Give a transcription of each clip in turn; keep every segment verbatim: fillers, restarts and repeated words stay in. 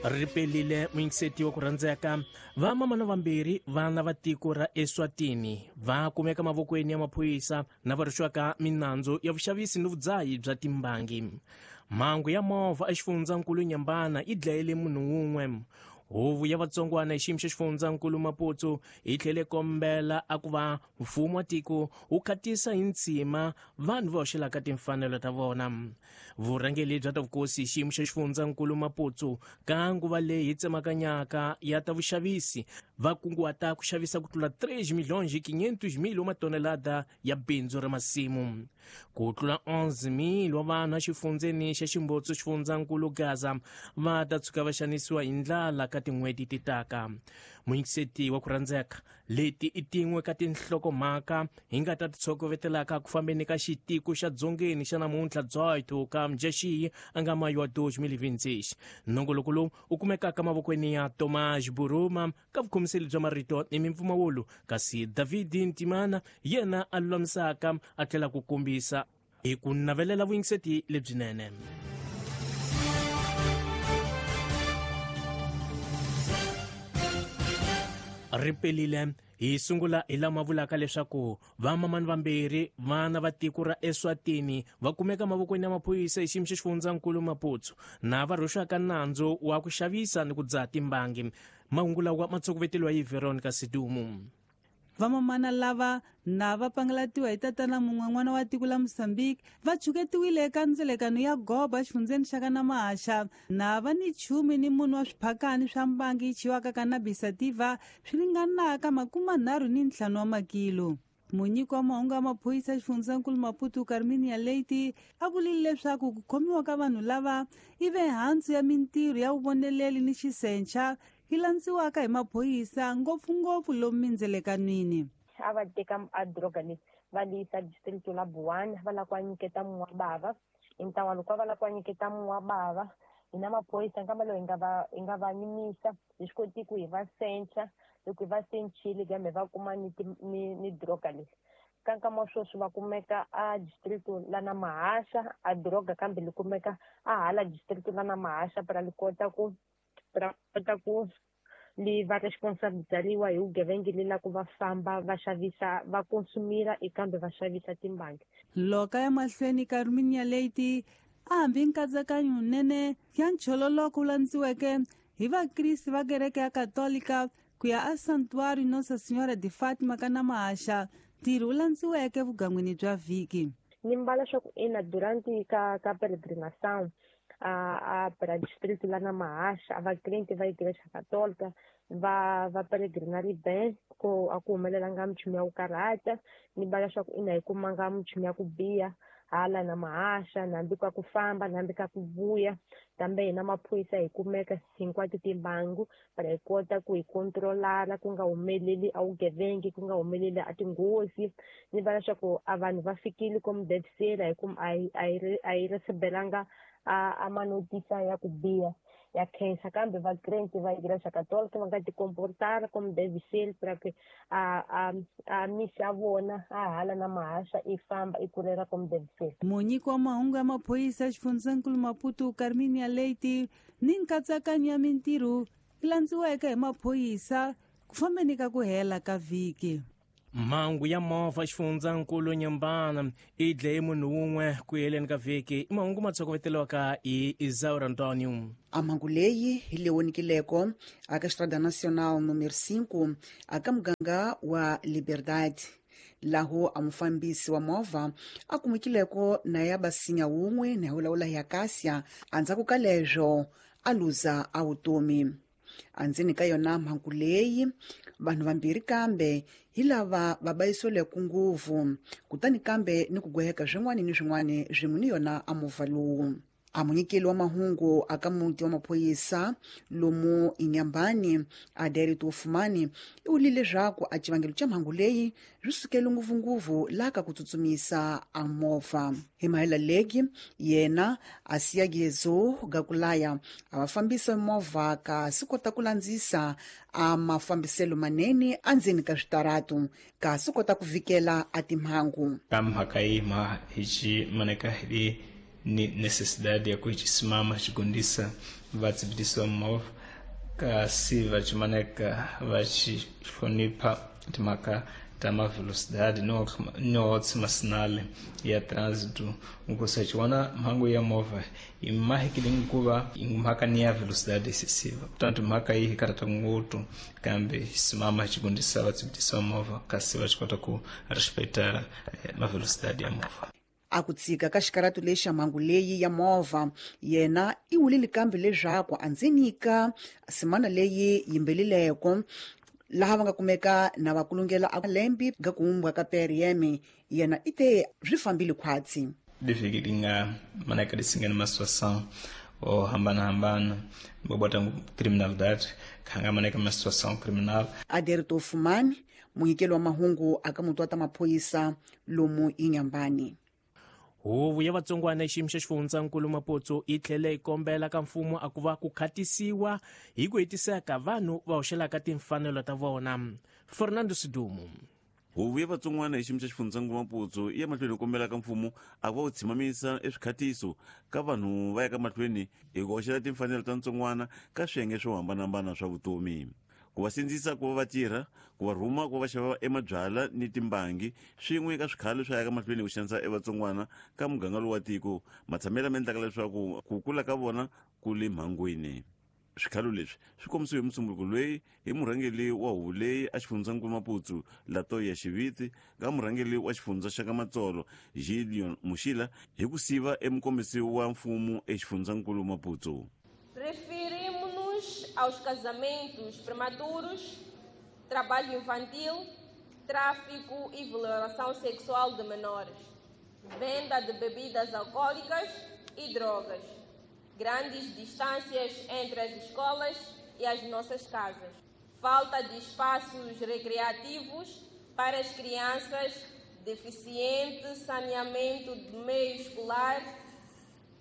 Ripelile muyingiseti wa ku rhandzeka. Vamamana vambirhi vana va tiko ra Eswatini va kumeka mavokweni ya maphorisa na va rixwaka minandzu ya vuxavisi ni vudzahi bya timbangi. Mhangu ya movha exifundzankulu Nyambana yi dlayele munhu wun'we. Huvo ya vatsongwana hi xiyimo xa xifundzankulu Maputo yi tlhele kombela a ku va mfumo wa tiko wu khatisa hi ntshima vanhu va hoxelaka timfanelo ta vona. Vurhangeri bya ta vukosi hi xiyimo xa xifundzankulu Maputo ka nguva leyi tsemakanyaka ya ta vuxavisi va kunguhata ku xavisa ku tlula três milhões e quinhentos mil wa matonelada ya bindzu ra masimu. Ku tlula onze mil wa vanhu exifundzeni xa Ximbotso xifundzankulu Gaza va ta tshuka va xanisiwa hi ndlala ka tin'hweti ti taka. Muyingiseti wa ku rhandzeka, leti i tin'we ka tinhlokomhaka hi nga ta ti tshokovetelaka ku fambeni ka xitiko xa dzongeni xa namuntlha dezoito ka Mudyaxihi a nga mayu wa dois mil e vinte e seis. Nongoloko lowu wu kumekaka mavokweni ya Tomás Buruma ka vukhomiseli bya marito ni mimpfumawulo, kasi David Ntimana yena a lulamisaka a tlhela ku kombisa hi ku navelela vuyingiseti lebyinene. Ripelile hi sungula hi lama vulaka leswaku vamamani vambirhi vana va tiko ra Eswatini va kumeka mavokweni ya maphorisa hi xiyimo xa xifundzankulu Maputo na va rhwexaka nandzu wa ku xavisa ni ku dzaha timbangi. Mahungu lawa ma tshokoveteliwa hi Veronica Sidumu. Vamamana lava na va pangalatiwa hi tatana mun'we n'wana wa tiko la Mozambique va chuketiwile eka ndzelekano ya goba exifundzeni xa ka Namahaxa na va ni chumi ni munhu wa swiphakani swa mbangi yi chiwaka cannabis sativa swi ringanaka makumanharhu ni ntlhanu wa makilo. Munyiki wa mahungu ya maphorisa xifundzankulu Maputo Carminia Leite a vulile leswaku ku khomiwa ka vanhu lava i ve hansi ya mintirho ya vuvoneleli ni xisencha yi landziwaka hi maphorisa ngopfungopfu lomu mindzelekanwini. A va teka a droga leyi va yisa district la Buwana va lava ku va nyiketa munhu wa bava. Hi ntlawa loko va lava ku va nyiketa munhu wa bava, hina maphorisa nkama lowu hi nga va hi nga va yimisa hi swi koti ku hi va sencha. Loko hi va senchile kambe va kuma ni ni ni droga leyi. Ka nkama wa sweswi va kumeka a district la Namahaxa a droga kambe li kumeka a hala district la Namahaxa para li kota ku para kota ku li va responsabilizariwa hi vugevenga le la ku va famba va xavisa va consumira kambe va xavisa timbangi. Loka ya mahlweni Carminia Leite a hambi nkatsakanyo nene ya nchololoko wu landziweke hi vakriste va kereke ya Katolika ku ya a Santuário Nossa Senhora de Fátima ka Namahaxa, ntirho wu landziweke vugangwini bya vhiki. Ni mbala swa ku ina durante ka ka peregrinação a a para distrito lá na Mahaxa, a vakrente va igreja católica va va peregrinari bem ko a ku humelelanga minchumu ya ku karhata. Ni mbala swa ku ina hi kumanga minchumu ya ku biha hala na Mahaxa, hambi ka ku famba hambi ka ku vuya, kambe hina maphorisa hi kumeka hinkwato timbangu para hi kota ku hi controlara ku nga humeleli a vugevengi, ku nga humeleli a tinghozi. Ni vona leswaku a vanhu va fikile komu devisela hi ku a hi a hi a hi recebelanga a a manotisa ya ku biha ya khensa, kambe vakrente va igreja católica va nga ti comportara como deve ser para que a a a misa ya vona a hala na Mahaxa i famba i kurela como deve ser. Munyiki wa mahungu ya maphorisa xifundzankulu Maputo Carminia Leite ni nkatsakanyo ya mintirho yi landziweke hi maphorisa ku fambeni ka ku hela ka vhiki. Mhangu ya movha xifundzankulu Nyambana i dlaye munhu wun'we ku heleni ka vhiki. I mahungu ma tshokoveteliwaka hi Isaura Antonio. A mhangu leyi hi le wonikileko aka Estrada Nacional número cinco aka muganga wa Liberdade, laho a mufambisi wa movha a kumekileko na ya basinya wun'we na hulawula ya Kasia andzhaku ka leswo a luza a vutomi. Andzeni ka yona mhangu leyi vanhu vambirhi kambe hi lava va bayisweleke nguvu, kutani kambe ni ku gweheka swin'wana ni swin'wana swin'we ni yona a movha lowu. A munyikeli wa mahungu aka muti wa maphorisa lomu Inyambani Adelito Ufumani i vulile leswaku a xivangelo xa mhangu leyi swi sukele ngopfungopfu laha ka ku tsutsumisa a movha. Hi mahela leki yena a siya gezo gakulaya a va fambisa movha kasi kota ku landzisa a mafambiselo manene endzeni ka switaratu kasi kota ku vikela a timhangu. Ka mhaka yi ma hi xi maneka hi Ni necessidade ya ku chisimama chigondisa vatsibitisi va movha kasi va chimaneka va xihlonipha timhaka ta mavelocidade no no masinale ya trânsito nkosi chiwana mhangu ya movha imahikile nkuva mhaka ni ya velocidade excessiva. Portanto mhaka iyi hikarata nguthu kambe simama chigondisa vatsibitisi va movha kasi va chikota ku respeitar mavelocidade ya movha. A ku tshika ka xikaratu lexi xa mhangu leyi ya movha yena i wulile kambe leswaku a ndzi nyika semana leyi yimbelileko laha va nga kumeka na va kulungela a lembi ga kuumbwa ka P R M yena i te swi fambile khwatsi. Livhiki li nga manaka lisingana ma situação o hambana hambana bobota criminalidade khanga manaka ma situação criminal. Aderto Fumani munyikeli wa mahungu aka mutu wa ta maphorisa lomu Inhambane. Huvo ya vatsongwana xiyimo xa xifundzankulu Maputo yi tlhele yi kombela ka mfumo a ku va ku khatisiwa hi ku hetiseka vanhu va hoxelaka timfanelo ta vona. Fernando Sidumo. Huvo ya vatsongwana hi xiyimo xa xifundzankulu Maputo yi ya mahlweni kombela ka mfumo a ku va ku tshimamisa eswikhatiso ka vanhu va ya ka mahlweni hi ku hoxela timfanelo ta ntsongwana ka swiyenge swo hambanahambana swa vutomi. Ku va sindzisa ku va va tirha, ku va rhuma ku va xava emabyala ni timbangi swin'we ka swikhalo swa ya ka mahlweni ku xanisa evatsongwana ka muganga lowu wa tiko matshamelo ma endlaka leswaku ku kula ka vona ku le mhangwini. Swikhalo leswi swi kombisiwe hi musunguluko loyi hi murhangeri wa huvo leyi a xifundzankulu Maputo Latoya Xiviti ka murhangeri wa xifundza xa ka Matsolo Gideon Muxila hi ku siva emukombisi wa mfumo exifundzankulu Maputo. Referimos-nos aos casamentos prematuros, trabalho infantil, tráfico e violação sexual de menores, venda de bebidas alcoólicas e drogas, grandes distâncias entre as escolas e as nossas casas, falta de espaços recreativos para as crianças, deficiente saneamento de meio escolar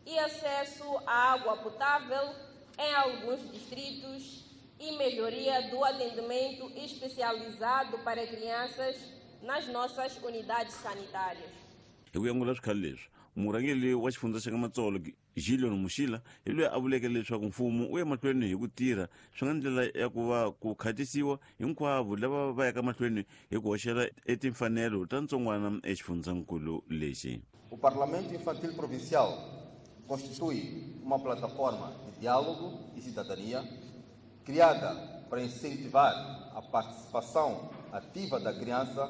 e acesso à água potável em alguns distritos e melhoria do atendimento especializado para crianças nas nossas unidades sanitárias. Hi ku angula swikhalo leswi, murhangeri wa xifundza xa ka Matsolo Gideon Muxila hi loyi a vuleke leswaku mfumo wu ya mahlweni hi ku tirha swi nga ndlela ya ku va ku khatisiwa hinkwavo lava va yaka mahlweni hi ku hoxela etimfanelo ta ntsongwana exifundzankulu lexi. O Parlamento Infantil Provincial constitui uma plataforma de diálogo e cidadania criada para incentivar a participação ativa da criança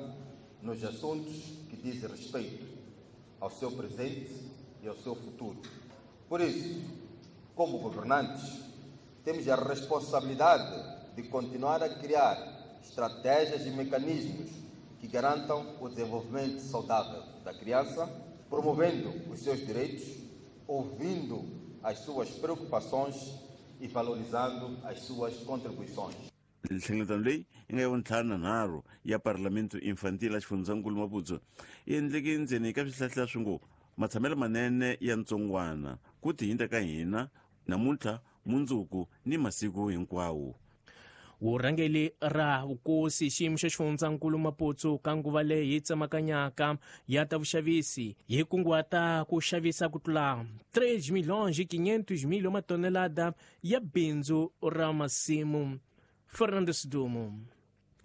nos assuntos que dizem respeito ao seu presente e ao seu futuro. Por isso, como governantes, temos a responsabilidade de continuar a criar estratégias e mecanismos que garantam o desenvolvimento saudável da criança, promovendo os seus direitos, ouvindo as suas preocupações e valorizando as suas contribuições. Nhlengeletano leyi yi nga ya vuntlhanu na nharhu ya Parlamento Infantil a xifundzankulu Maputo yi endleke ndzeni ka swihlahla swi ngo matshamelo manene ya ntsongwana ku tihinta ka hina namuntlha mundzuku ni masiku hinkwawo. Vurhangeri ra vukosi xiyimo xa xifundzankulu Maputo ka nguva leyi yi tsemakanyaka ya ta vuxavisi yi kunguhata ku xavisa ku tlula três milhões e quinhentos mil matonelada ya bindzu ra masimu. Fernando Sidumo.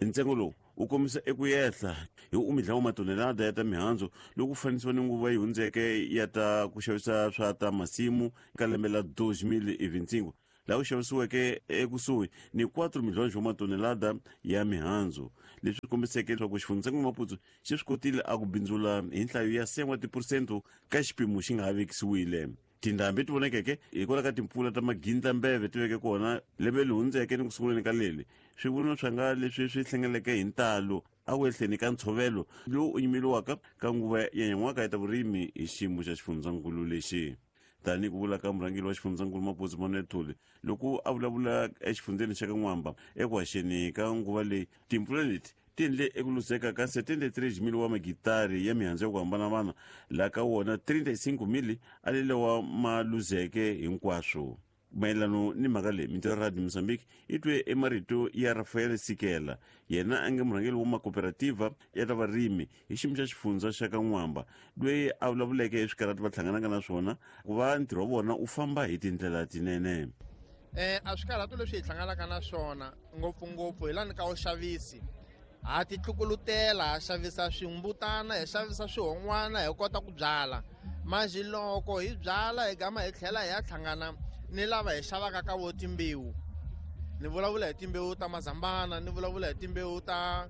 Ntsengo lowu wu kombisa eku yehla hi umidla wa matonelada ya ta mihandzu loko ku fanisiwa ni nguva yi hundzeke ya ta ku xavisa swa ta masimu ka lembe la dois mil e vinte e cinco laha ku xavisiweke ekusuhi ni quatro milhões wa matonelada ya mihandzu, leswi kombiseke leswaku xifundzankulu Maputo xi swi kotile a ku bindzula hi nhlayo ya cem wa tiphurosento ka xipimo xi nga ha vekisiwile. Tindhambi ti vonekeke hikwalaho ka timpfula ta magindlambeve ti veke kona lembe leri hundzeke ni ku sunguleni ka leli swivunwa swa nga leswi swi hlengeleke hi ntalo a ku ehleni ka ntshovelo lowu u yimeliwaka ka nguva ya nyan'waka ya ta vurimi hi xiyimo xa xifundzankulu lexi. Tanihi ku vula ka murhangeri wa xifundzankulu Maputo Manuel Thuli loko a vulavula exifundzeni xa ka N'wamba eku haxeni ka nguva leyi, timpfula leti ti endle eku luzeka ka setenta e três mil wa magitari ya mihandzu ya ku hambanahambana laha ka wona trinta e cinco mil a lelewa ma luzeke hinkwaswo. Mayelano ni mhaka leyi Mintirho Radio Mozambique yi twe emarito ya Rafael Sikela, yena a nga murhangeri wa makooperativa ya ta varimi hi xiyimo xa xifundza xa ka N'wamba, loyi a vulavuleke hi swikarhati va hlanganaka na swona ku va ntirho wa vona wu famba hi tindlela tinene. Eh a swikarhati leswi hi hlanganaka na swona ngopfungopfu hi lani ka vuxavisi, ha ti tlukulutela, ha xavisa swimbutana, hi xavisa swihon'wana, hi kota ku byala. Manjhe loko hi byala hi gama hi tlhela hi ya hlangana ni lava hi xavaka ka vo timbewu. Ni vulavula hi timbewu ta mazambana, ni vulavula hi timbewu ta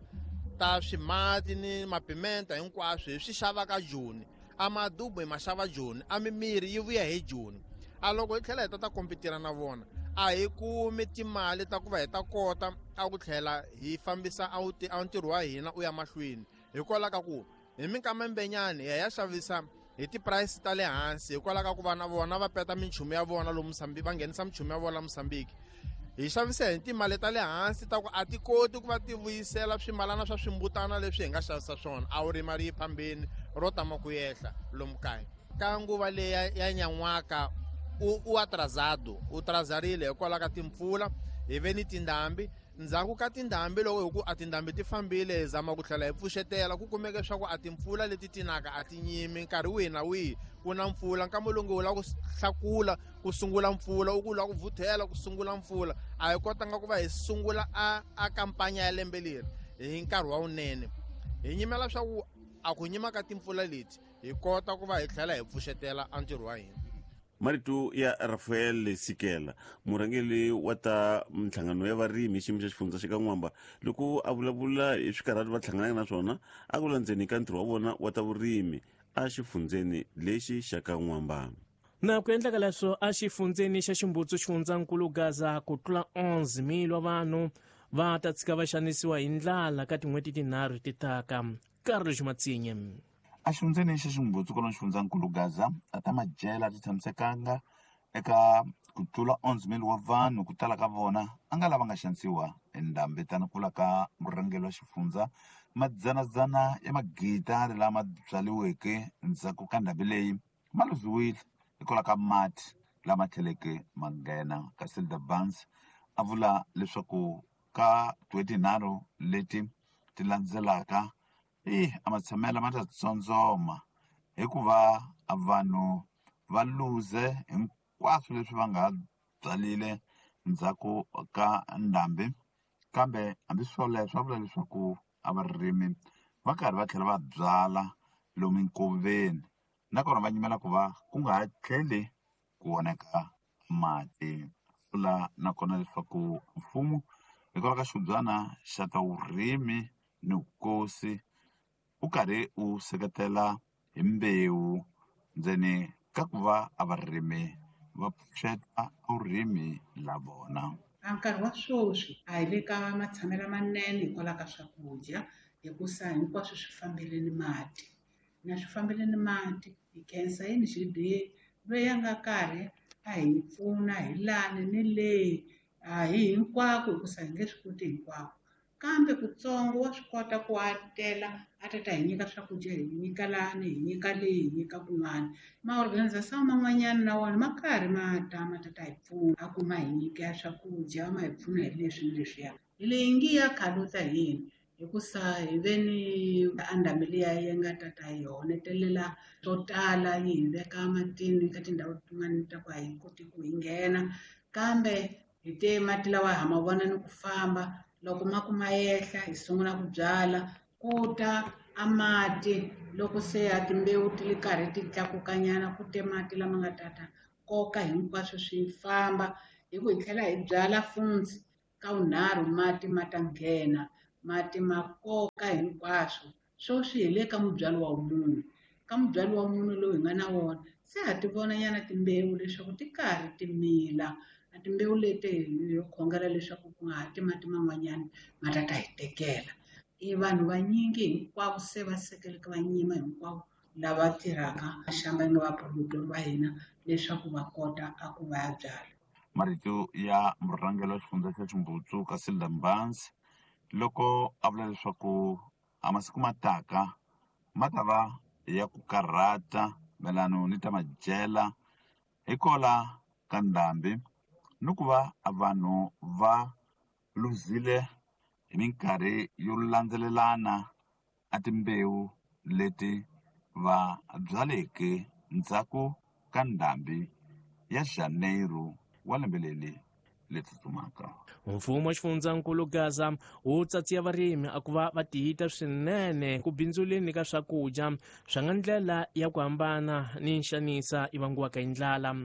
ta swimati ni mapimenta, hinkwaswo hi swi xavaka Joni. A madubu hi ma xava Joni, a mimiri yi vuya hi Joni. A loko hi tlhela hi ta ta kompetira na vona, a hi kumi timali ta ku va hi ta kota a ku tlhela hi fambisa a ntirho wa hina u ya mahlweni. Hikwalaho ka ku hi minkama mbenyani hi ya xavisa hi ti-price ta le hansi, hikwalaho ka ku va na vona va peta minchumu ya vona lomu Mozambique, va nghenisa minchumu ya vona Mozambique. Hi xavisa hi timali ta le hansi ta ku a ti koti ku va ti vuyisela swimalana swa swimbutana leswi hi nga xavisa swona. A wu ri mali yi phambeni ro tama ku yehla lomu kaya. Ka nguva leyi ya nyan'waka u u atrasado, u trazarile hikwalaho ka timpfula, hi ve ni tindhambi. Ndzhaku ka tindhambi loko hi ku a tindhambi ti fambile, hi zama ku tlhela hi pfuxetela, ku kumeka leswaku a timpfula leti tinaka a ti nyimi nkarhi wihi na wihi ku na mpfula. Nkama lowu nge u lava ku hlakula ku sungula mpfula, u ku lava ku vuthela ku sungula mpfula. A hi kotanga ku va hi sungula a a kampanya ya lembe leri hi nkarhi wa wunene. Hi nyimela swa ku a ku nyima ka timpfula leti hi kota ku va hi tlhela hi pfuxetela a ntirho wa hina. Marito ya Rafael Sikela, murhangeri wa ta minhlangano ya varimi hi xiyimo xa xifundza xa ka N'wamba, loko a vulavula hi swikarhati va hlanganaka na swona a ku landzeni ka ntirho wa vona wa ta vurimi a xifundzeni lexi xa ka N'wamba. Na ku endlaka leswo a xifundzeni xa Ximbutsu xifundzankulu Gaza, ku tlula onze mil wa vanhu va ta tshika va xanisiwa hi ndlala ka tin'hweti tinharhu ti taka. Carlos Matsinye. A xifundzeni xa Ximbutsu kona xifundzankulu Gaza, a ta madyela ti tshamisekanga eka ku tlula onze mil wa vanhu, ku tala ka vona a nga lava nga xanisiwa hi ndhambi. Tani kula ka murhangeri wa xifundza, madzanadzana ya magidari lama byaliweke ndzhaku ka ndhambi leyi ma luziwile hikwalaho ka mati lama tlheleke ma nghena. Kasi the Barnes a vula leswaku ka tin'hweti tinharhu leti ti landzelaka i a matshamelo ma ta tsondzoma hikuva a vanhu va luze hinkwaswo leswi va nga byalile ndzhaku ka ndhambi. Kambe hambi swoleswo a vula leswaku a varimi va karhi va tlhela va byala lomu nkoveni, nakona va nyimela ku va ku nga ha tlheli ku onheka mati. Vula nakona leswaku mfumo hikwalaho ka xibyana xa ta vurimi ni vukosi u karhi u seketela hi mbewu ndzeni ka ku va a varimi va pfuxeta vurimi la vona. A nkarhi wa sweswi a hi le ka matshamelo manene hikwalaho ka swakudya, hikusa hinkwaswo swi fambile ni mati. Na swi fambile ni mati, hi khensa yini G D A loyi a nga karhi a hi pfuna hi lani ni le, a hi hinkwako hikusa hi nge swi koti hinkwako. Kambe kutsongo wa swi kota ku atela a ta ta hi nyika swakudya, hi nyika lani, hi nyika leyi, hi nyika kun'wana. Ma-organization man'wanyana na wona ma karhi ma ta ma ta ta hi pfuna, a ku ma hi nyika swakudya, ma hi pfuna hi leswi ni leswiya. Hi leyi ngi ya khaluta hi yini, hikusa hi ve ni a ndhambi liya yi nga ta ta hi honetelela swo tala, yi hi veka matini ka tindhawu tin'wani ta ku a hi koti ku hi nghena. Kambe hi te mati lawa ha ma vona ni ku famba, loko ma ku ma yehla hi sungula ku byala, ku ta a mati loko se a timbewu ti le karhi ti tlakukanyana, ku te mati lama nga ta ta koka hinkwaswo swi famba. Hi ku hi tlhela hi byala funtsi ka vunharhu, mati ma ta nghena, mati ma koka hinkwaswo. Sweswi hi le ka mubyalo wa munhu, ka mubyalo wa munhu lowu hi nga na wona se ha ti vona nyana timbewu leswaku ti karhi ti mila. A timbewu leti hi khongela leswaku ku nga ha ti mati man'wanyana ma ta ta hi tekela. I vanhu vanyingi hinkwavo se va sekeleke va nyima hinkwavo lava tirhaka xamba nga vaproductor va hina leswaku va kota a ku va ya byala. Marito ya murhangeri wa xifundza xa Ximbutsu Casilda Mbanzi loko a vula leswaku a masiku ma taka ma ta va ya ku karhata mayelana ni ta madyela hikola ka ndhambi ni ku va vanhu va luzile hi minkarhi yo landzelelana a timbewu leti va byaleke ndzhaku ka ndhambi ya Janeiro wa lembe leri leri tsutsumaka. Mfumo wa xifundzankulu Gaza wu tsatsiya varimi a ku va va tiyita swinene ku bindzuleni ka swakudya swa nga ndlela ya ku hambana ni nxanisa yi vangiwaka hi ndlala.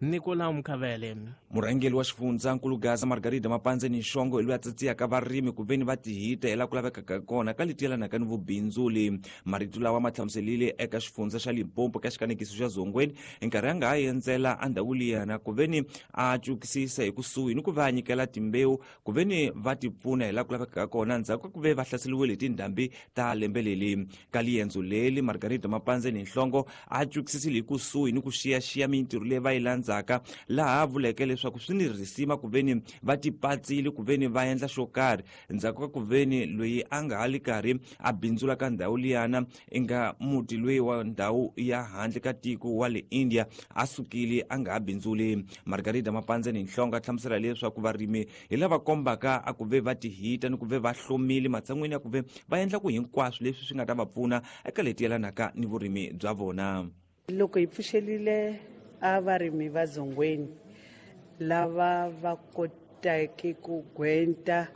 Nicolau Mkhavele. Murhangeri wa xifundzankulu Gaza Margarida Mapandzeni Nhlongo hi loyi a tsatsiyaka varimi ku veni va tihita hi laha ku lavekaka kona ka leti yelanaka ni vubindzuli. Marito lawa ma hlamuselile eka xifundza xa Limpopo ka xikanekiso xa Zongweni nkarhi a nga ha endzela endhawu liyana ku veni a cukisisa hi kusuhi ni ku va a nyikela timbewu ku veni va ti pfuna hi laha ku lavekaka kona ndzhaku ka ku ve va hlaseriwile hi tindhambi ta lembe leli. Ka liendzo leli Margarida Mapandzeni Nhlongo a cukisisile hi kusuhi ni ku xiyaxiya mintirho leyi va yi landzaka, laha vuleke leswaku swi ni risima ku veni va tipatsile ku veni va endla xo karhi ndzhaku ka ku veni loyi a nga ha li karhi a bindzula ka ndhawu liyana i nga muti loyi wa ndhawu ya handle ka tiko wa le India a sukile a nga ha bindzuli. Margarida Mapandzeni Nhlongo a hlamusela leswaku varimi hi lava kombaka a ku ve va tihita ni ku ve va hlomile matshan'wini ya ku ve va endla ku hinkwaswo leswi swi nga ta va pfuna eka leti yelanaka ni vurimi bya vona. Loko hi pfuxelile a varimi va Zongweni lava va koteke ku gwenta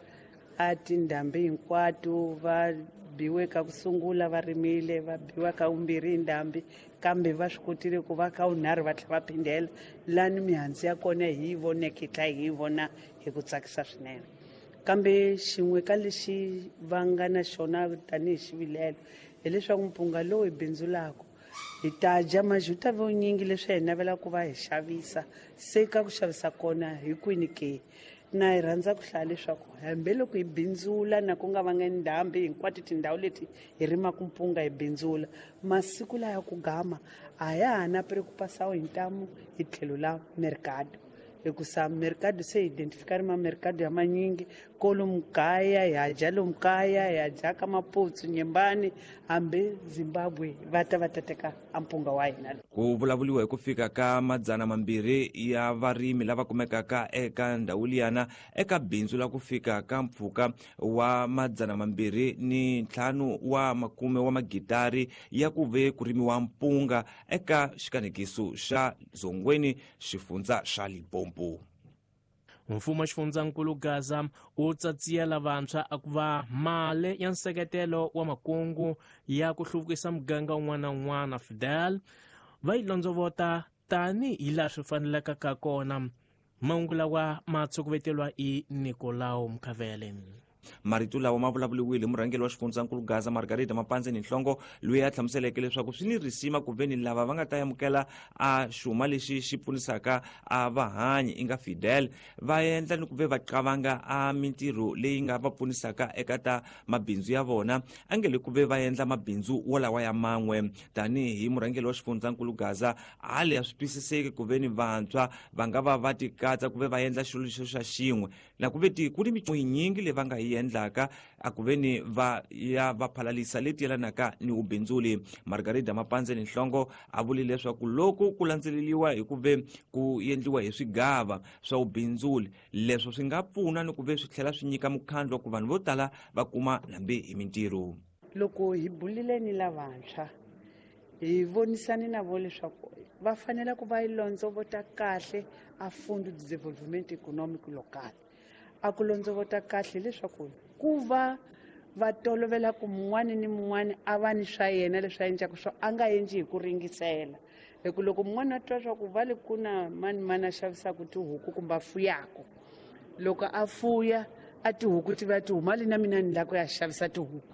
a tindhambi hinkwato, va biwe ka ku sungula va rimile, va biwa ka vumbirhi hi ndhambi, kambe va swi kotile ku va ka vunharhu va tlhela va phindela lani mihandzu ya kona hi yi voneke hi tlhela hi yi vona hi ku tsakisa swinene. Kambe xin'we ka lexi va nga na xona tanihi xivilelo hileswaku mpunga lowu hi bindzulaka hi ta dya majuta vunyingi leswi hi navelaka ku va hi xavisa, se ka ku xavisa kona hi kwini ke? Na hi rhandza ku hlaya leswaku hambiloko hi bindzula na ku nga vanga ndhambi hinkwato tindhawu leti hi rimaka mpunga hi bindzula, masiku laya ku gama a ya ha na preocupação hi ntamu hi tlhelo la mercado, hikusa mercado se identifika ri mamercado ya manyingi kolomu kaya hi ha dya lomu kaya, hi ha dya ka Maputsu, Nyembani, hambi Zimbabwe va ta va ta teka a mpunga wa hina. Ku vulavuriwa hi ku fika ka madzana mambirhi ya varimi lava kumekaka eka ndhawu liyana eka bindzu la ku fika ka mpfhuka wa madzana mambirhi ni ntlhanu wa makume wa magitari ya ku ve ku rimiwa mpunga eka xikanekiso xa Zongweni xifundza xa Limpopo. Mfumo wa xifundzankulu Gaza wu tsatsiyela vantshwa a ku va mali ya nseketelo wa makungu ya ku hluvukisa muganga wun'wana na wun'wana Fidel va yi londzovota tanihi laha swi faneleke ka kona. Mahungu lawa ma tshukuveteriwa hi Nicolau Mkhavele. Marito lawa ma vulavuriwile hi murhangeri wa xifundzankulu Gaza Margarida Mapandzeni Nhlongo loyi a hlamuseleke leswaku swi ni risima ku veni lava va nga ta amukela a xuma lexi xi pfunisaka a vahanyi i nga Fidel va endla ni ku ve va qavanga a mintirho leyi nga va pfunisaka eka ta mabindzu ya vona, a nge le ku ve va endla mabindzu wolawa ya man'we. Tanihi murhangeri wa xifundzankulu Gaza a le a swi twisiseki ku veni vantshwa va nga va va tikatsa ku ve va endla xilo lexo xa xin'we na ku ve ti ku ni michumu yinyingi leyi va nga yi endlaka a ku veni va ya va phalalisa leti yelanaka ni vubindzuli. Margarida Mapandzeni Nhlongo a vule leswaku loko ku landzeleriwa hi ku ve ku endliwa hi swigava swa vubindzuli leswo swi nga pfuna ni ku ve swi tlhela swi nyika mukhandlu wa ku vanhu vo tala va kuma hambi hi mintirho. Loko hi bulile ni lavantshwa hi vonisane na vo leswaku va fanele ku va yi londzovota kahle a Fundo de Desenvolvimento Econômico Local. A ku londzovota kahle leswaku ku va va tolovela ku mun'wani ni mun'wani a va ni swa yena leswi a endlaka swo a nga endli hi ku ringisela, hi ku loko mun'wani a twa swa ku va le ku na mani mani a xavisaka tihuku kumbe a fuyaka, loko a fuya a tihuku ti va ti huma le na mina ni lava ku ya xavisa tihuku.